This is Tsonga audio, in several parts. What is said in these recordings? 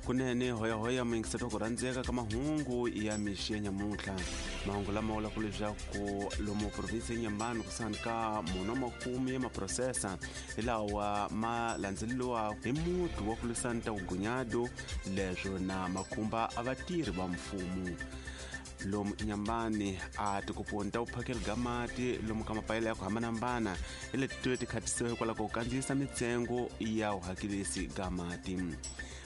Kunene hoyahoya muyingiseti ku rhandzeka ka mahungu ya mixi ya nyamuntlha. Mahungu lama vulaka leswaku lomu provinsi ya Inhambane kusuhani ka mune wa makume ya maphurosesa hi lawa ma landzeleriwaka hi muti wa ku lwisana ta vugunyado, leswo na makhumba a vatirhi va mfumo. Lomu Inhambane a tikuponi ta vuphakeli bya mati lomu ka mapayela ya ku hambanahambana hi leti tive ti khatisiwa hikwalaho ka ku kandziyisa mitsengo ya vuhakelisi ga mati.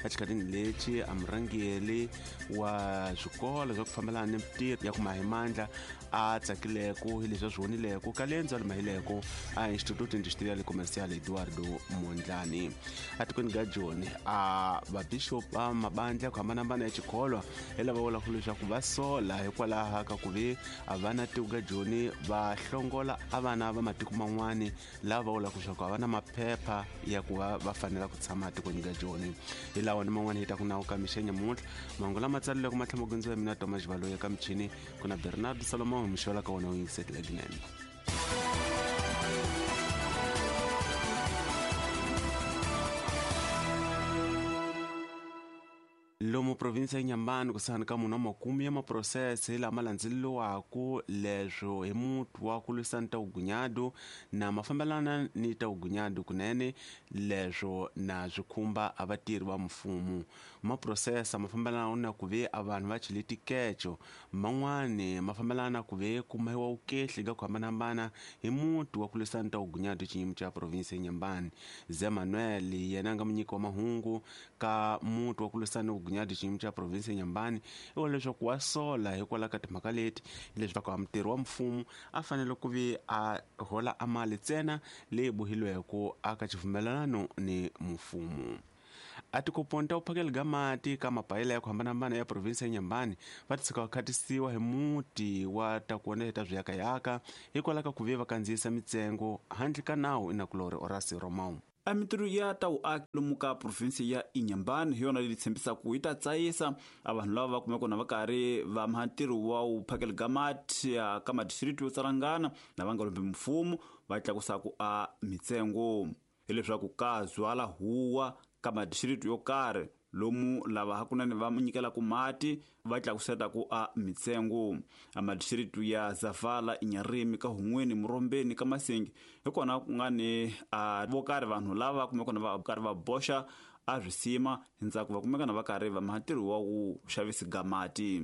Exikhatini lexi a murhangeri wa swikolo swa ku fambelana ni mitirho ya ku maha mandla a tsakileko hi leswi a swi vonileko ka lendzo a limahileko a Instituto Industrial Comercial Eduardo Mondlane. Atikweni ga Joni a vabishop va mabandla ya ku hambanahambana ya xikholwa hi lava vulaka leswaku va sola hikwalaho ka ku ve a vana tiko ga Joni va hlongola a vana va matiko man'wani lava va vulaka leswaku a va na maphepha ya ku va va fanela ku tshama etikweni ga Joni. Hi lawa ni man'wana hi ta ku nawu ka mixa nyamuntlha. Mahungu lama tsalileke ma tlhela ma gondziwa hi mina Thomas Valoyi, eka michini ku na Bernardo Solomon, mixola ka wona wu yingisetile lebyinene. Lomu provinsi ya Inhambane kusuhani ka mune wa makume ya maphurosese lama landzeleriwaka leswo hi muti wa ku lwisana ta vugunyado na mafambelana ni ta vugunyado kunene, leswo na swi khumba a vatirhi va mfumo. Maphurosesa ma fambelana na ku ve a vanhu va chele tikeco, man'wani ma fambelana na ku ve ku mahiwa vukehli ka ku hambanahambana hi muti wa ku lwisana ta vugunyado xiyimo xa provinsi ya Inhambane. Zé Manuel yena a nga munyiki wa mahungu ka muti wa ku lwisana ni vugunyadi xiyimo xa provinsi ya Inhambane i vula leswaku wa sola hikwalaho ka timhaka leti, leswaku a mutirhi wa mfumo a fanele ku vi a hola a mali ntsena leyi bohilweke aka xivumelano ni mfumo. A tikoponi ta vuphakeli bya mati ka mapayela ya ku hambanahambana ya provinsi ya Inhambane va ti tshika va khatisiwa hi muti wa ta ku ta swiyakayaka hikwalaho ka ku ve va kandziyisa mitsengo handle ka nawu. Inakulori Horace Romão. A mintirho ya ta vuaki lomu ka provinsi ya Inhambane hi yona leyi tshembisaka yi ta tsayisa a vanhu lava va kumeka na va karhi va maha ntirho wa vuphakeli bya mati ka madistrikti yo tsalangana na va nga lombi mfumo va tlakusaku a mitsengo, hileswaku ka zwala huwa ka madistrikti yo karhi lomu lava hakunene va nyikelaka mati va tlakusetaku a mitsengo. A madistrikti ya Zavala, Inharime, ka Hun'weni, Murombeni, ka Masingi hi kona ku nga ni a vo karhi vanhu lava kumeka na va karhi va boxa a swisima hi ntsako va kumeka na va karhi va maha ntirho wa ku xavisi ga mati.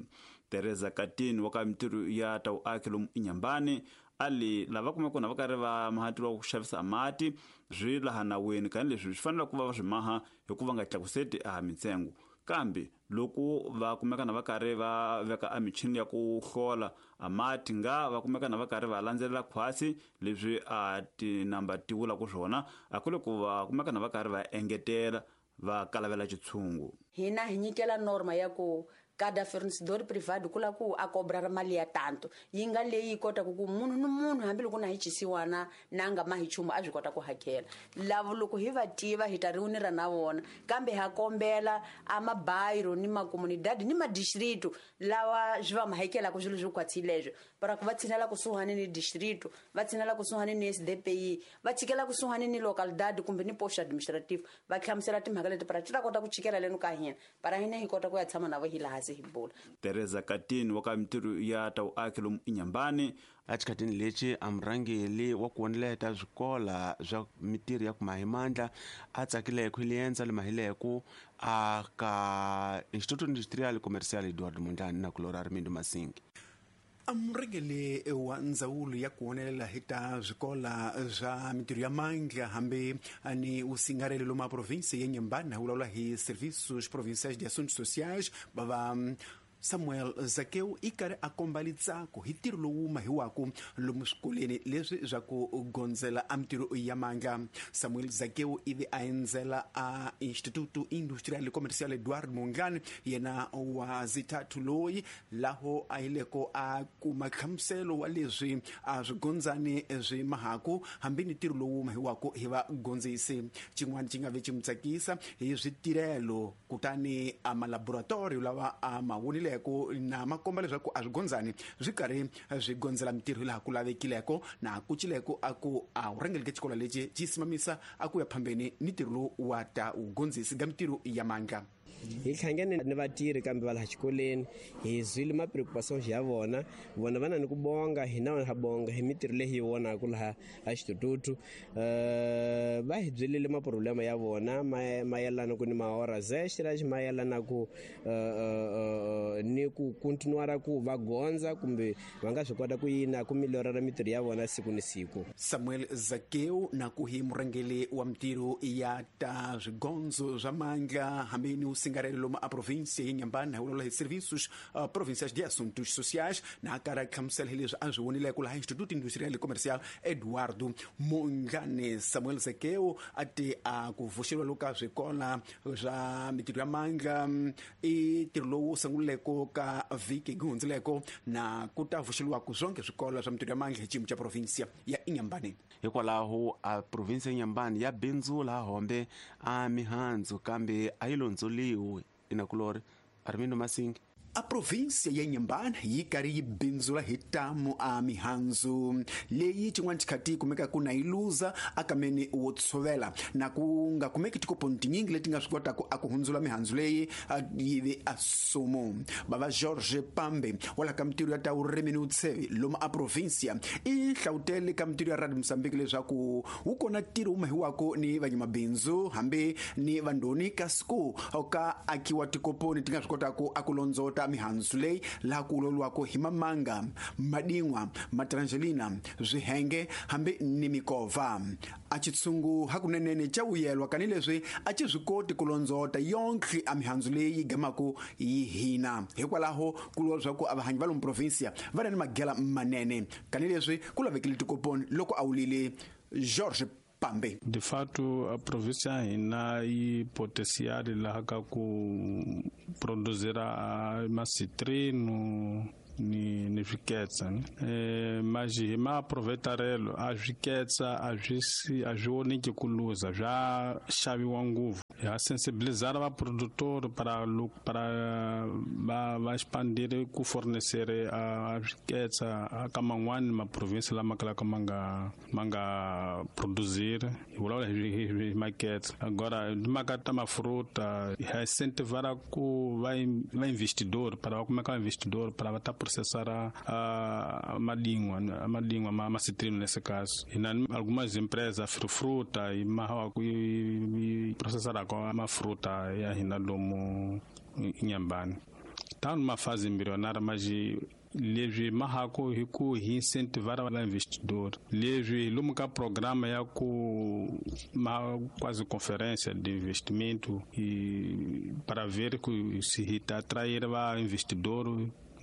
Teresa Katini wa ka mintirho ya ta vuaki lomu Inhambane a li lava kumeka na va karhi va maha ntirho wa ku xavisa mati swi laha nawini, kani leswi swi fanele ku va va swi maha hikuva nga tlakuseti a mitsengo, kambe loko va kumeka na va karhi va veka a michini ya ku hlola a mati nga va kumeka na va karhi va landzelela khwasi leswi a tinamba ti vulaka swona, a ku le ku va kumeka na va karhi va engetela va kalavela xitshungu. Hina hi nyikela norma ya ku kada fornecedor privado ku la ku a cobra mali ya tanto yi nga leyi yi kotaka ku munhu ni munhu hambiloko na hi chisiwana na nga ma hi chumu a swi kota ku hakela. Lavo loko hi va tiva hi ta riunira na vona, kambe ha kombela a mabayiro ni makomunidadi ni madistrito lawa swi va ma hakelaka swilo swo khwatsi leswo, para ku va tshinela kusuhani ni distrito, va tshinela kusuhani ni SDPI, va tshikela kusuhani ni localidade kumbe ni posto administrative, va hlamusela timhaka leti para ti ta kota ku chikela leno ka hina, para hina hi kota ku ya tshama na vo hi laha se hi bula. Teresa Katini wa ka mintirho ya ta vuaki lomu Inhambane. Exikhatini lexi a murhangeri wa ku voneleta swikola swa mintirho ya ku maha mandla a tsakileko hi liendzo limahileko a ka Instituto Industrial Comercial Eduardo Mondlane na kulora Armindo Masingi. A murhangeri wa ndzawulo ya ku vonelela hi ta swikola swa mintirho ya mandla hambi ni usingarelo lomu a provinsi ya Inhambane a vulavula hi Serviços Provinciais de Assuntos Sociais bava Samuel Zakeu i karhi a komba litsako hi ntirho lowu mahiwaku lomu swikolweni leswi swa ku gondzela a mintirho ya mandla. Samuel Zakeu ivi a endzela a Instituto Industrial Comercial Eduardo Mondlane, yena wa zithathu loyi laho a yileko a kuma nhlamuselo wa leswi a swi gondzani swi mahaku hambi ni ntirho lowu mahiwaku hi vagondzisi. Xin'wana xi nga ve xi n'wi tsakisa hi switirhelo kutani a malaboratorio lawa a ma vonileko na ma komba leswaku a swi gondzani swi karhi swi gondzela mintirho laha ku lavekileko na ku cileko a ku a wu rhangeleke xikolo lexi xi simamisa a ku ya phambeni ni ntirho lowu wa ta wugondzisi ga mintirho ya mandla. Hi hlangane ni vatirhi kambe va laha xikolweni, hi zwile ma preocupations ya vona, vona va na ni ku bonga, hina ha bonga hi mitirho leyi hi vonaka laha a Instituto. Va hi byelile ma problema ya vona mayelana ku ni ma horas extras, mayelana ku ni ku continuar ku va gondza kumbe va nga swi kota ku yina ku melhorara mitirho ya vona siku ni siku. Samuel Zakeu na ku hi murhangeri wa mitirho ya ta swigondzo swa mandla hambi ni usingarelo lomu a província ya Inhambane, hi vulavula hi Serviços Provinciais de Assuntos Sociais, na karhi a hlamusela hi leswi a swi vonileke laha Instituto Industrial e Comercial Eduardo Mondlane. Samuel Zakeu a te a ku vuxeriwa loka swikola swa mitirho ya mandla i ntirho lowu sunguleko ka vhiki yi hundzileko, na ku ta vuxeriwaka swonke swikolo swa mitirho ya mandla hi xiyimo xa província ya Inhambane. Hikwalaho a província ya Inhambane ya bindzula hombe a mihandzu kambe a yi londzoliwi. Inakulori Armindo Masingi. A província ya Inhambane yi karhi yi bindzula hi tamu a mihandzu leyi xin'wana xikhati yi kumekaka na yi luza akameni wo tshovela, na ku nga kumeki tikoponi tinyingi leti nga swi kotaka a ku hundzula mihandzu leyi yi ve a sumu. Bava George Pambe wa laha ka mitirho ya ta vurimi ni vutshevi lomu a província i hlawutele ka mitirho ya Radio Mozambique leswaku wu kona ntirho wu mahiwaka ni vanyamabindzu hambi ni vandhoni, kasi ku ka akiwa tikoponi ti nga swi kotaka a ku londzota mihandzu leyi laha ku vulavuriwaka hi mamanga, madin'wa, matrangelina, swihenge hambi ni mikova. A xitshungu hakunenene xa vuyelwa kanileswi a xi swi koti ku londzota yonkhe a mihandzu leyi yi gamaka yi hina. Hikwalaho ku vuriwa leswaku a vahanyi va lomu província va na ni magela manene kanileswi ku lavekile tikoponi loko a wulile George Pambe. De fato, a província ya hina yi potencial laha ka ku produzir macitrino ni swiketsa, ne? Mas hi maaproveitarelo a swiketsa a swi a swi voniki ku luza, swa xaviwa ngopfu. Ha sensibilizar va produtor para va expandir ku fornecer a swiketsa ka man'wani ma province lama kalaka ma nga produzir. Hi vulavula hi maketsa. Agora timhaka ta mafruta, ha incentivar ku va investidor, para va kumeka va investidor para va ta processar a madingwa ma citrino. Nesse caso hina algumas empresas fruta e mahawa ku yi processaraka mafruta ya hina lomu Inhambane. Tá numa fase embrionária, mas leswi mahako hi ku hi incentivar va investidor, leswi lomu ka programa ya ku ma quase conferência de investimento e para ver que se hi ta atrair va investidor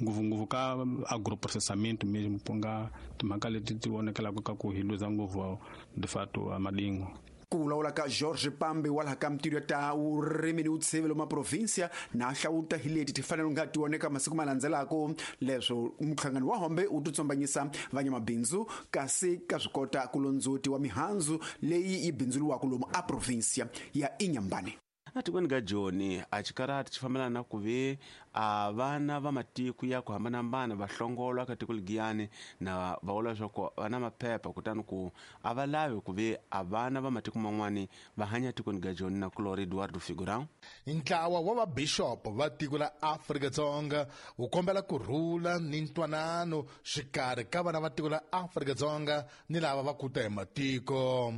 ngopfungopfu ka agroprocessamento mesmo, ku nga timhaka leti ti vonekelaka ka ku hi luza ngopfu de fato a madingo. Ku vulavula ka George Pambe wa laha ka mitirho ya ta vurimi ni vutshevi lomu província, na hlawuta hi leti ti fanele nga ti voneka masiku ma landzelaka leswo muhlangano wa hombe wu titsombanyisa vanyamabindzu, kasi ka swi kota ku londzoti wa mihandzu leyi yi bindzuriwaka lomu a província ya Inhambane. Atikweni ka Joni a xikarati xi fambelana na ku ve a vana va matiko ya ku hambanahambana va hlongolwa ka tiko ligiyani, na va vula leswaku va na maphepha, kutani ku a va lavi ku ve a vana va matiko man'wani va hanya tikweni ka Joni. Na kulori Eduardo Figurão. Ntlawa wa vabixopo va tiko la Afrika-Dzonga wu kombela ku rhula ni ntwanano xikarhi ka vana va tiko la Afrika-Dzonga ni lava va kuta hi matiko.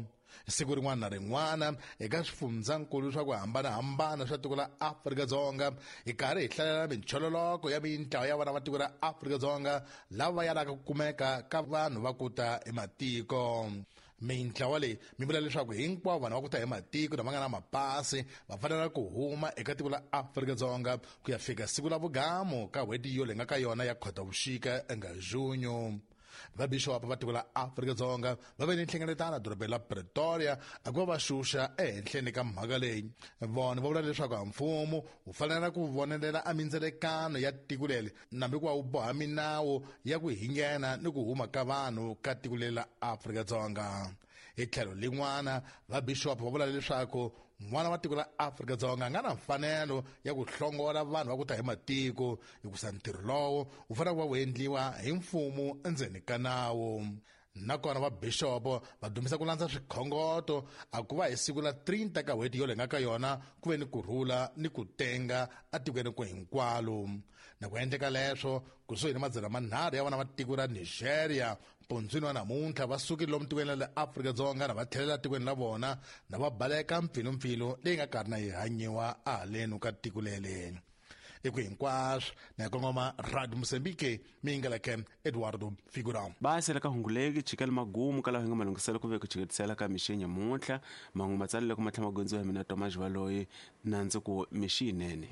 Siku rin'wana na rin'wana eka swifundzankulu swa ku hambanahambana swa tiko la Afrika-Dzonga hi karhi hi hlalela minchololoko ya mintlawa ya vana va tiko ra Afrika-Dzonga lava va yalaka ku kumeka ka vanhu va kuta hi matiko. Mintlawa leyi mi vula leswaku hinkwavo vanhu va ku ta hi matiko lama nga na mapasi va fanela ku huma eka tiko la Afrika-Dzonga ku ya fika siku la vugamu ka n'hweti yo leyi nga ka yona ya Khotavuxika enga junho. Vabixopo va tiko la Afrika-Dzonga va ve ni nhlengeletano dorobeni la Pretoria a ku va va xuxa ehenhleni ka mhaka leyi. Vona va vula leswaku a mfumo wu fanela ku vonelela a mindzelekano ya tiko leri nambi ku va wu boha minawu ya ku hingena ni ku huma ka vanhu ka tiko leri la Afrika-Dzonga. Hi tlhelo lin'wana, vabixopo va vula leswaku n'wana wa tiko la Afrika-Dzonga a nga na mfanelo ya ku hlongola vanhu va ku ta hi matiko, hikusa ntirho lowo wu fanele ku va wu endliwa hi mfumo endzeni ka nawu. Nakona va bixopo va dumisa ku landza swikhongoto a ku va hi siku la 30 ka n'hweti yo lenga ka yona ku ve ni kurhula ni ku tenga atikweni ku hinkwalo. Na ku endleka leswo kusuhi ni 300 ya vana va tiko ra Nigeria mpundzwini wa namuntlha va sukile lomu tikweni ra le Afrika-Dzonga na va tlhelela tikweni la vona na va baleka mpfilumpfilu leyi nga karhi na yi hanyiwa ahaleni ka tiko lele. Eku hinkwaswo na hi kongoma Radio Mozambique mi yingeleke Eduardo Figurão. Basela ka hunguleki chikela magumu ka laha hi nga malunghiselo ku ve ku chiketisela ka mixi nyamuntlha. Mahungu matsalelo ku matlhela magondzo ya mina Thomas Valoyi na ndzi ku mixi yinene.